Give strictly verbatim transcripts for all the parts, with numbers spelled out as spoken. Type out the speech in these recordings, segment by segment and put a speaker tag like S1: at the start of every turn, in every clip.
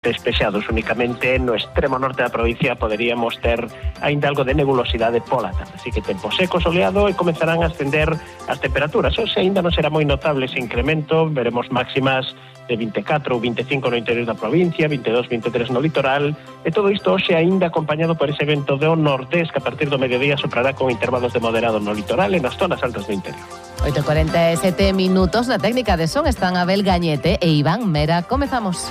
S1: Despexados únicamente no extremo norte da provincia poderíamos ter aínda algo de nebulosidade pola tarde, así que tempo seco, soleado e comenzarán a ascender as temperaturas. O sea, aínda non será moi notable ese incremento, veremos máximas de vinte e catro ou vinte e cinco no interior da provincia, vinte e dos, vinte e tres no litoral, e todo isto hoxe aínda acompañado por ese vento do nordés que a partir do mediodía soprará con intervalos de moderado no litoral e nas zonas altas do interior.
S2: oito e cuarenta e sete minutos na técnica de son están Abel Gañete e Iván Mera. Comezamos.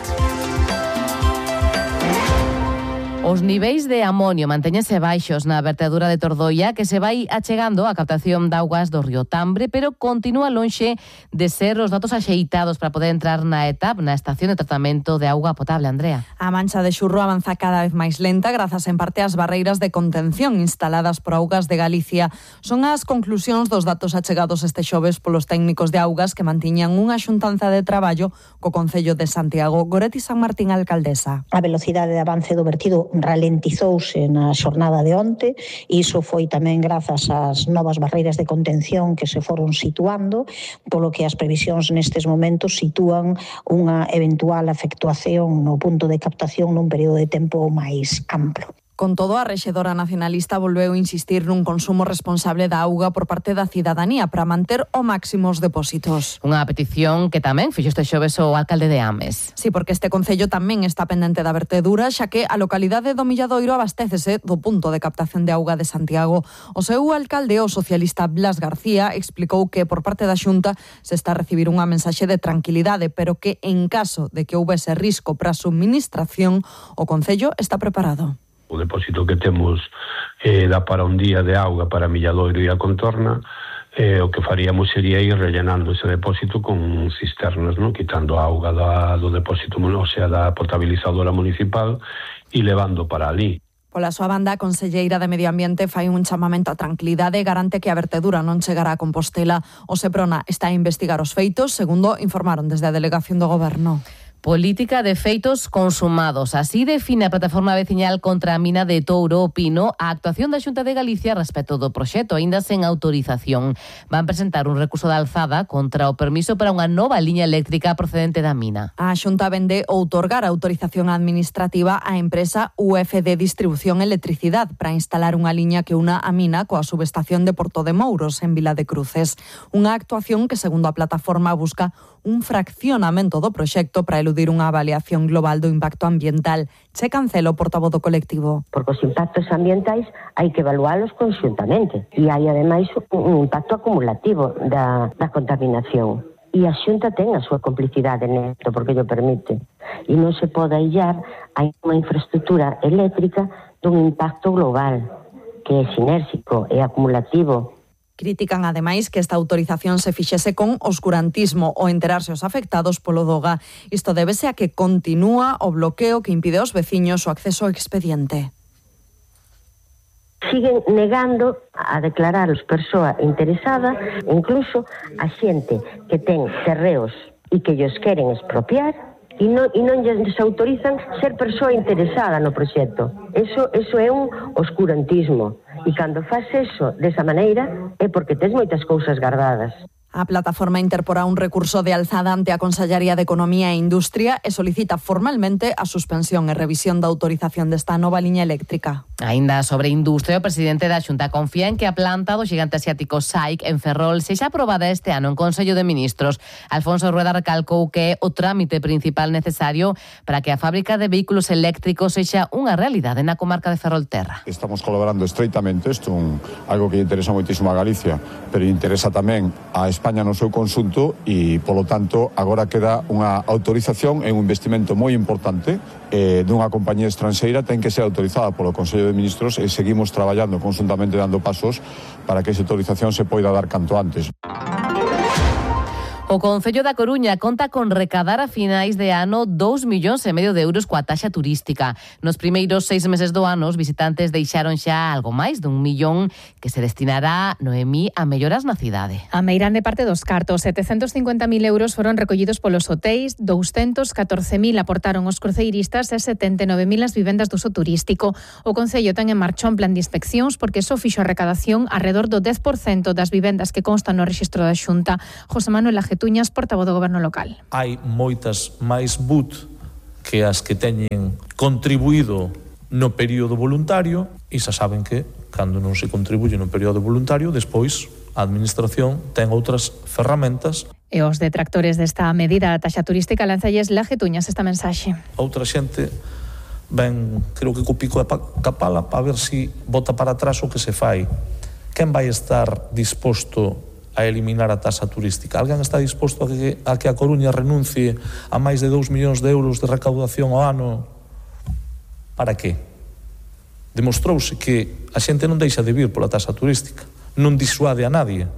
S2: Os niveis de amonio mantéñense baixos na vertedura de Tordoia, que se vai achegando a captación de augas do río Tambre, pero continúa lonxe de ser os datos axeitados para poder entrar na E T A P, na estación de tratamento de auga potable. Andrea.
S3: A mancha de xurro avanza cada vez máis lenta, grazas en parte ás barreiras de contención instaladas por Augas de Galicia. Son as conclusións dos datos achegados este xoves polos técnicos de augas que mantiñan unha xuntanza de traballo co Concello de Santiago. Goretti San Martín, alcaldesa.
S4: A velocidade de avance do vertido ralentizouse na xornada de onte e iso foi tamén grazas ás novas barreiras de contención que se foron situando, polo que as previsións nestes momentos sitúan unha eventual efectuación no punto de captación nun período de tempo máis amplo.
S3: Con todo, a rexedora nacionalista volveu insistir nun consumo responsable da auga por parte da cidadanía para manter o máximo os depósitos.
S2: Unha petición que tamén fixo este xoves o alcalde de Ames.
S3: Sí, porque este concello tamén está pendente da vertedura, xa que a localidade do Milladoiro abastécese do punto de captación de auga de Santiago. O seu alcalde, o socialista Blas García, explicou que por parte da Xunta se está a recibir unha mensaxe de tranquilidade, pero que en caso de que houbese risco para a subministración, o concello está preparado.
S5: O depósito que temos eh, dá para un día de auga para Milladoiro e a contorna. Eh, o que faríamos sería ir rellenando ese depósito con cisternas, ¿no? Quitando a auga da, do depósito, o sea, da potabilizadora municipal e levando para ali.
S3: Pola súa banda, a conselleira de Medio Ambiente fai un chamamento a tranquilidade e garante que a vertedura non chegará a Compostela. O Seprona está a investigar os feitos, segundo informaron desde a delegación do Goberno.
S2: Política de feitos consumados. Así define a plataforma veciñal contra a mina de Touro o Pino a actuación da Xunta de Galicia respecto do proxecto, aínda sen autorización. Van presentar un recurso de alzada contra o permiso para unha nova liña eléctrica procedente da mina.
S3: A Xunta vende outorgar a autorización administrativa á empresa U F D Distribución Electricidade para instalar unha liña que una a mina coa subestación de Porto de Mouros en Vila de Cruces. Unha actuación que, segundo a plataforma, busca un fraccionamento do proxecto para eludir unha avaliación global do impacto ambiental. Che Cancelo, portavoz do colectivo.
S6: Porque os impactos ambientais hai que evaluálos conxuntamente e hai ademais un impacto acumulativo da, da contaminación. E a Xunta ten a súa complicidade nesto porque llo permite. E non se pode aillar a unha infraestructura eléctrica dun impacto global que é sinérxico e acumulativo.
S3: Critican, ademais, que esta autorización se fixese con oscurantismo ou enterarse os afectados polo Doga. Isto débese a que continúa o bloqueo que impide aos veciños o acceso ao expediente.
S6: Siguen negando a declarar os persoa interesada, incluso a xente que ten terreos e que llos queren expropiar, e non, e non lles autorizan ser persoa interesada no proxecto. Eso, eso é un oscurantismo. E cando faz eso desa maneira é porque tes moitas cousas guardadas.
S3: A plataforma interporá un recurso de alzada ante a Consellería de Economía e Industria e solicita formalmente a suspensión e revisión da autorización desta nova liña eléctrica.
S2: Aínda sobre industria, o presidente da Xunta confía en que a planta do xigante asiático S A I C en Ferrol sexa aprobada este ano en Consello de Ministros. Alfonso Rueda recalcou que é o trámite principal necesario para que a fábrica de vehículos eléctricos sexa unha realidade na comarca de Ferrolterra.
S7: Estamos colaborando estreitamente, isto un, algo que interesa moitísimo a Galicia, pero interesa tamén a España no seu conxunto e, polo tanto, agora queda unha autorización e un investimento moi importante eh, dunha compañía estranxeira, ten que ser autorizada polo Consello de Ministros e seguimos traballando conjuntamente dando pasos para que esa autorización se poida dar canto antes.
S2: O Concello da Coruña conta con recadar a finais de ano dous millóns e medio de euros coa taxa turística. Nos primeiros seis meses do ano, os visitantes deixaron xa algo máis dun millón que se destinará, Noemí, a melloras na cidade.
S8: A meirande parte dos cartos, setecentos cincuenta mil euros foron recollidos polos hotéis, douscentos catorce mil aportaron os cruceiristas e setenta e nove mil as vivendas do uso turístico. O Concello ten en marcha un plan de inspeccións porque só fixo a recadación arredor do dez por cento das vivendas que constan no rexistro da Xunta. José Manuel Ajetuñas, portavoz do Goberno local.
S9: Hai moitas máis B U T que as que teñen contribuído no período voluntario, e xa saben que, cando non se contribuye no período voluntario, despois a Administración ten outras ferramentas.
S8: E os detractores desta medida da taxa turística lanzalles lajetuñas esta mensaxe.
S9: Outra xente ven, creo que co pico e ca pala, para ver si bota para atrás o que se fai. Quen vai estar disposto a eliminar a taxa turística? Alguén está disposto a que a, que a Coruña renuncie a máis de dous millóns de euros de recaudación ao ano? Para que? Demostrouse que a xente non deixa de vir pola taxa turística, non disuade a nadie.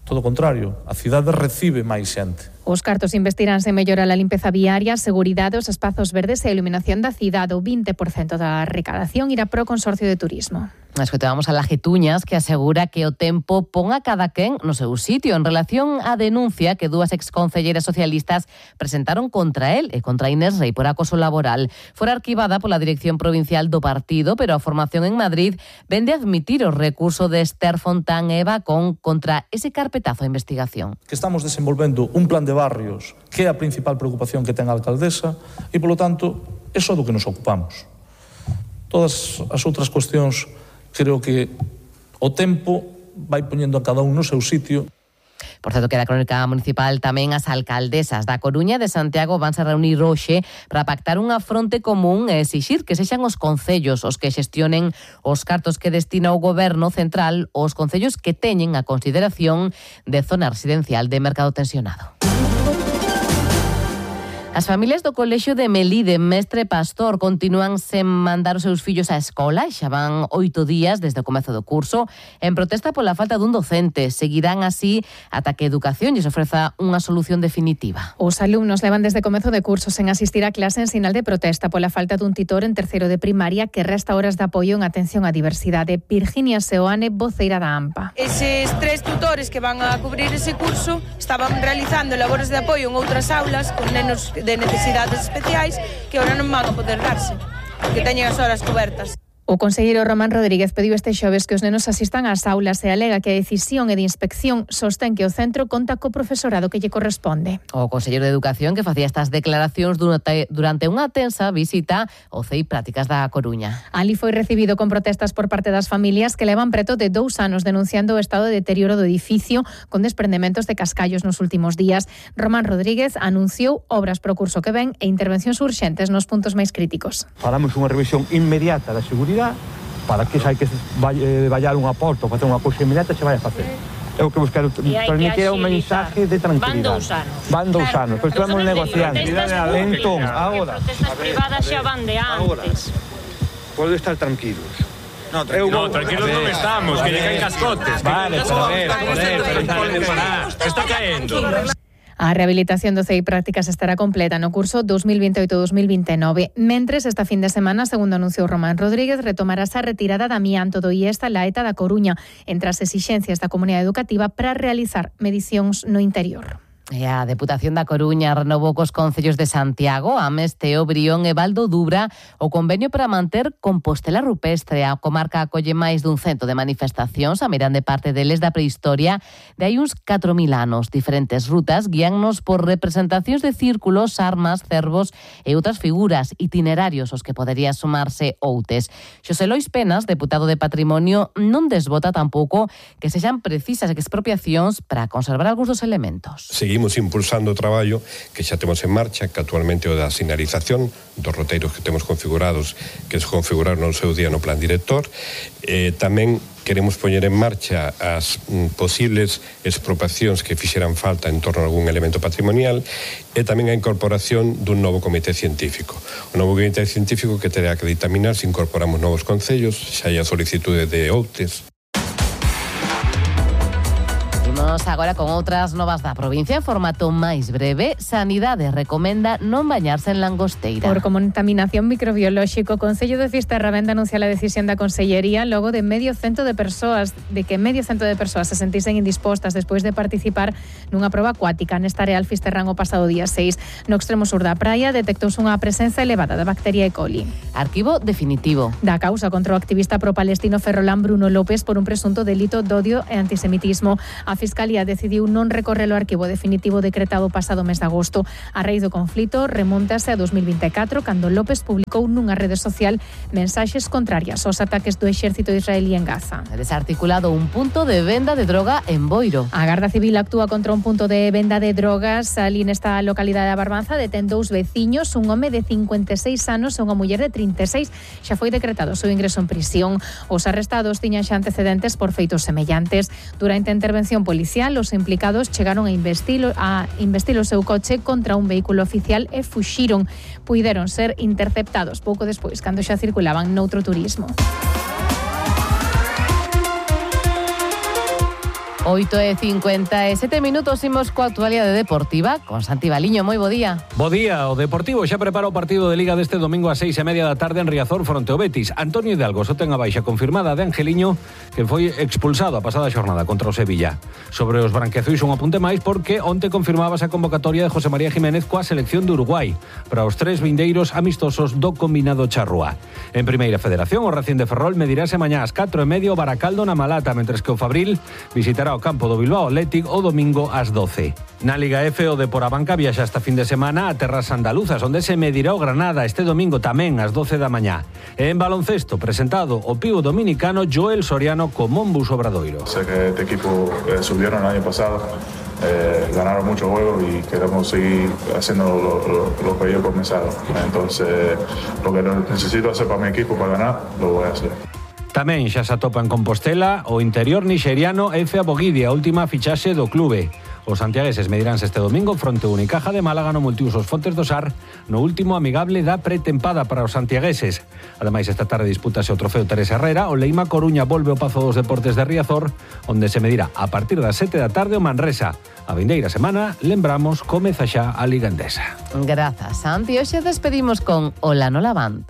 S9: Todo o contrario, a cidade recibe máis xente.
S8: Os cartos investiránse en mellorar a limpeza viaria, seguridade, os espazos verdes e a iluminación da cidade. O vinte por cento da recadación irá pro Consorcio de Turismo.
S2: Escoitamos a Lajetuñas, que asegura que o tempo pon a cada quen no seu sitio en relación á denuncia que dúas exconcelleiras socialistas presentaron contra el e contra Inés Rei por acoso laboral. Fora arquivada pola Dirección Provincial do partido, pero a formación en Madrid vende a admitir o recurso de Esther Fontán e Eva Con contra ese carpetazo de investigación.
S9: Que estamos desenvolvendo un plan de barrios que é a principal preocupación que ten a alcaldesa e, polo tanto, é só do que nos ocupamos. Todas as outras cuestións, creo que o tempo vai poñendo a cada un no seu sitio.
S2: Por certo, que da crónica municipal tamén as alcaldesas da Coruña e de Santiago vanse reunir hoxe para pactar unha fronte común e exixir que sexan os concellos os que xestionen os cartos que destina o goberno central aos concellos que teñen a consideración de zona residencial de mercado tensionado. As familias do colexio de Melide, Mestre Pastor, continúan sen mandar os seus fillos á escola e xa van oito días desde o comezo do curso en protesta pola falta dun docente. Seguirán así ata que Educación lles ofreza unha solución definitiva.
S8: Os alumnos levan desde comezo de curso sen asistir a clase en sinal de protesta pola falta dun titor en terceiro de primaria que resta horas de apoio en atención á diversidade. Virginia Seoane, voceira da AMPA.
S10: Eses tres tutores que van a cubrir ese curso estaban realizando labores de apoio en outras aulas con nenos de necesidades especiais que ahora non van a poder darse, que teñen as horas cobertas.
S8: O conselleiro Román Rodríguez pediu este xoves que os nenos asistan ás aulas e alega que a decisión e de inspección sostén que o centro conta co profesorado que lle corresponde.
S2: O conselleiro de Educación que facía estas declaracións durante, durante unha tensa visita ao C E I Prácticas da Coruña.
S8: Ali foi recibido con protestas por parte das familias que levan preto de dous anos denunciando o estado de deterioro do edificio con desprendementos de cascallos nos últimos días. Román Rodríguez anunciou obras pro curso que ven e intervencións urxentes nos puntos máis críticos.
S11: Falamos unha revisión inmediata da seguridade para que xa hai que vallar unha porta ou facer unha cousa inmediata se vai a facer. É o que vos quero transmitir é un mensaje de tranquilidade.
S12: Van dous anos.
S11: Van dous anos, pois estamos negociando. Entón,
S12: agora. Protestas privadas xa van de antes.
S11: Pode estar tranquilos.
S13: No, tranquilo, no, tranquilos non estamos, que lle caen cascotes.
S11: Vale, pero a ver,
S13: joder, pero está caendo.
S8: A rehabilitación do C E I Prácticas estará completa no curso dos mil veintioito dos mil veintenove. Mentres, esta fin de semana, segundo anunciou Román Rodríguez, retomarase a retirada da amianto do IESTA la ETA da Coruña entre as exixencias da comunidade educativa para realizar medicións no interior.
S2: E a Deputación da Coruña renovou cos concellos de Santiago, Ames, Teo, Brión e Valdo Dubra o convenio para manter Compostela Rupestre. A comarca acolle máis dun cento de manifestacións, a mirande parte deles da prehistoria de hai uns catro mil anos. Diferentes rutas guíannos por representacións de círculos, armas, cervos e outras figuras, itinerarios aos que podería sumarse outes. Xosé Lois Penas, deputado de Patrimonio, non desbota tampouco que sexan precisas expropiacións para conservar algúns dos elementos.
S14: Seguimos impulsando o traballo que xa temos en marcha, que actualmente o da sinalización dos roteiros que temos configurados, que se configuraron no seu día no plan director. Eh, tamén queremos poñer en marcha as mm, posibles expropiacións que fixeran falta en torno a algún elemento patrimonial e tamén a incorporación dun novo comité científico. O novo comité científico que terá que ditaminar se incorporamos novos concellos, xa hai a solicitude de outes.
S2: Imos agora con outras novas da provincia en formato máis breve. Sanidade recomenda non bañarse en langosteira.
S8: Por contaminación microbiolóxico, o Concello de Fisterra vén anuncia a decisión da Consellería logo de medio cento de persoas, de que medio cento de persoas se sentisen indispostas despois de participar nunha proba acuática nesta área Fisterrán o pasado día seis. No extremo sur da praia detectouse unha presenza elevada da bacteria E. coli.
S2: Arquivo definitivo
S8: da causa contra o activista pro-palestino ferrolán Bruno López por un presunto delito de odio e antisemitismo. A Fiscalía decidiu non recorrer o arquivo definitivo decretado pasado mes de agosto. A raíz do conflito remontase a dos mil vinte e catro, cando López publicou nunha rede social mensaxes contrarias aos ataques do exército israelí en Gaza.
S2: Desarticulado un punto de venda de droga en Boiro.
S8: A Garda Civil actúa contra un punto de venda de drogas ali nesta localidade da Barbanza. Detén dous veciños, un home de cincuenta e seis anos e unha muller de trinta e seis. Xa foi decretado o seu ingreso en prisión. Os arrestados tiñan xa antecedentes por feitos semellantes. Durante a intervención policial, os implicados chegaron a investilo, a investir o seu coche contra un vehículo oficial e fuxiron. Puideron ser interceptados pouco despois, cando xa circulaban noutro turismo.
S2: oito e cincuenta e sete minutos, imos coa actualidade deportiva con Santi Baliño. Moi bo día.
S15: Bo día, o Deportivo xa prepara o partido de Liga deste domingo a seis e media da tarde en Riazor fronte ao Betis. Antonio Hidalgo só ten a baixa confirmada de Angeliño, que foi expulsado a pasada xornada contra o Sevilla. Sobre os branqueazuis un apunte máis, porque onte confirmabas a convocatoria de José María Jiménez coa selección de Uruguai para os tres vindeiros amistosos do combinado charrúa. En Primeira Federación, o Racing de Ferrol medirase mañá ás catro e media o Baracaldo na Malata, mentres que o Fabril visitará o campo do Bilbao Athletic o domingo ás doce. Na Liga F, o Depor Abanca viaxa esta fin de semana a terras andaluzas, onde se medirá o Granada este domingo tamén ás doce da mañá. E en baloncesto, presentado o pivo dominicano Joel Soriano co Monbus Obradoiro.
S16: Sé que este equipo eh, subieron el año pasado, eh, ganaron muchos juegos y queremos seguir haciendo lo, lo, lo que ellos comenzaron. Entonces, lo que necesito hacer para mi equipo para ganar, lo voy a hacer.
S15: Tamén xa se atopa en Compostela o interior nixeriano Efe Abogidi, a última fichaxe do clube. Os santiagueses mediránse este domingo fronte ao Unicaja de Málaga no Multiusos Fontes do Sar, no último amigable da pretempada para os santiagueses. Ademais, esta tarde dispútase o trofeo Teresa Herrera, o Leima Coruña volve ao Pazo dos Deportes de Riazor, onde se medirá a partir das sete da tarde o Manresa. A vindeira semana, lembramos, comeza xa a Liga Endesa.
S2: Grazas, Santi. Hoxe despedimos con Ola Nola Band.